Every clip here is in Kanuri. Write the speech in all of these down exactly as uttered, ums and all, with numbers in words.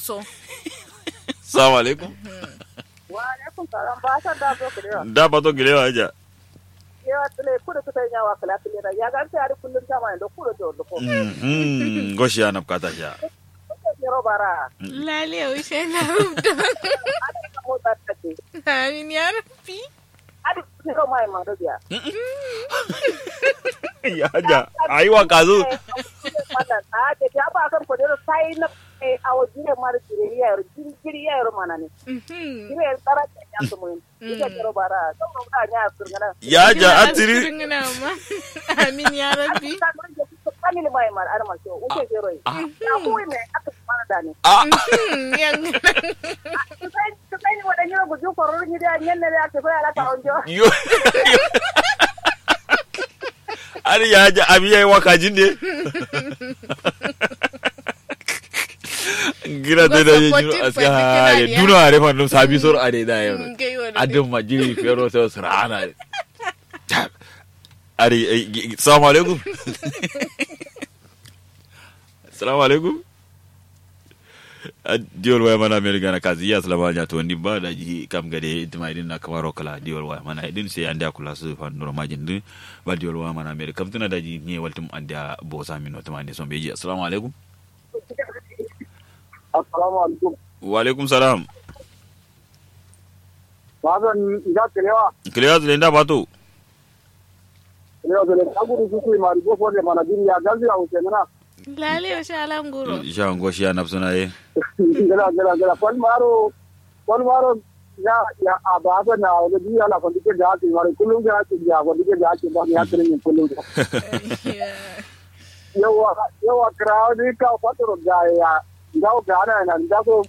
So. Salamu alaikum. Wa alaikum salam. Ba san da zo kile wa. Da ba to kile wa ja. Yawa tile kudu kusa nya wa kala tile da ya ga sai ari kullum ta ma indo kudu to ko. Mhm. Goshi ana bukata sha. Kudu ne ro bara. Lale o ishe na rubda. Amin ya rabbi. Adi kiro mai maro biya. Ya ja. Aiwa kazu. A'a da ya ba kan kodero sai na. Awo jire maro jire yaro jire yaro mana ne. Jire yaro tara ya su mun. Ita kiro bara. Sau da ya su ngana. Ya ja atiri. Amin ya rabbi. Family mai mar arma so uke jero. Ya kuwi me aka mana da ne. Yan. Kusaini waɗa ñiro guju kororo ñidi a ñenne de ake fo yala ka onjo. Yo. Ari ya ja abi yayi waka jinde. Gira de da ñiro aska. Duna are fa no sabi sor are da yaro. Adin majiri fero so sarana. Ari. Salamu alaikum. Salamu alaikum. Diwol waya mana amerika na kazi ya salama nya to ndi ba da ji kam gade tima idin na kamaro kala diwol waya mana idin sai an da kula su fa nuro majin din. Ba diwol waya mana amerika kam tuna da ji ne waltum an da bosa mino tuma ne son beji. Assalamu alaikum. Assalamu alaikum. Wa alaikum salam. Ba zan ga kalewa. Kalewa zai da bato. Kalewa zai da gudu su su imari go fo de mana jiri ya gazi ya wuce mana. Lale yo sha languro. Sha ngo shi ya nafsuna ye. Gala gala gala fal maro. Fal maro. Ya ya ababa na wala bi ala fandi ke ga ki maro kullum ga ki ya fandi ke ga ki ba ya trin kullum. Yawa yawa krawo ni ka fatoro ga ya. Ga ga na na ga so.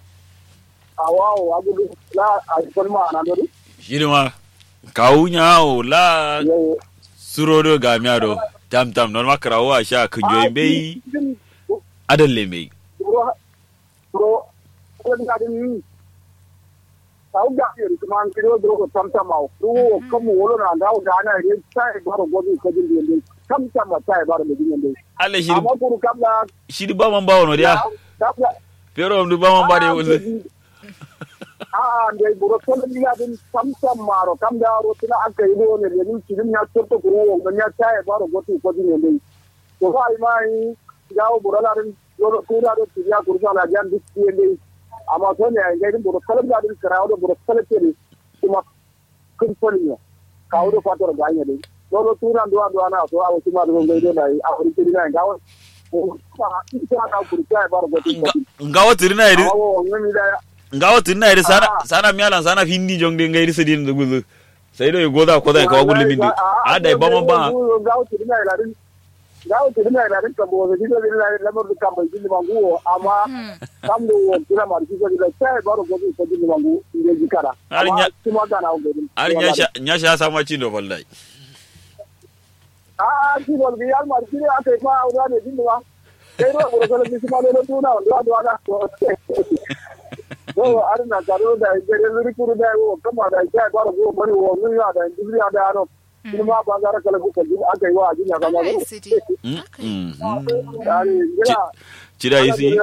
Awawo agudu la a yi fal ma na do. Shiri ma kawu nya wo la. Suro do gamiya do. Tam tam normal karawo a sha kunjoyi mbeyi. Adalle mbeyi. Buro buro ko ga din ni. Kawu gamiya do kuma an kiro do ko tam tam awo ko kamu wolo na ga ga na yin sai baro gobi ko din din. Tam tam ma sai baro din din. Alle shiri. Amma kuru kamla. Shiri ba man bawo no dia. Kamla. Fero am du ba man ba de wulde. A'a ndai buro tolon gila din. Samsam maro kam da ro tuna aka yi do ne lenin cikin ya totto kuro wo ganya taye baro gotu ko din ne. To ba yi mai. Gawo buro la din. Dole kura do tiya kursa la jan duk ne. Amma to ne ai ngai din buro tolon gila din karawo do buro tolon ne. Kuma kun fani ne. Kawo do fatar ga anya dai. Dole tura duwa duwa na so awo kuma do ngai do dai a kuri kiri na gawo. Ngawo tirina iri. Ngawo tirina iri sana sana miyalan sana findi jong de ngairi sidin da guzu. Sai do goda koda ka wagul mindi. A dai bama ba. Ngawo tirina iri. Ngawo tirina iri ka bo de de la lamar du kamba jindi mangu amma kam do wo tirina ma jindi la sai baro goda ko jindi mangu. Ngai jikara. Ari nya. Kuma kana wo. Ari nya sha nya sha sama cindo wallahi. A'a ki bol gi yalmar kiri aka yi fa awo da ne jindi ma. Kai do buro sala bisima lolo tuna wando wando wala. Yo ari na karo da gare luri kuru da wo kama da ya baro go mari wo mun ya da dibri ya da ano. Kuma ba gara kala ku kalli aka yi wa ajin ya kama go. Ari gira. Cida isi.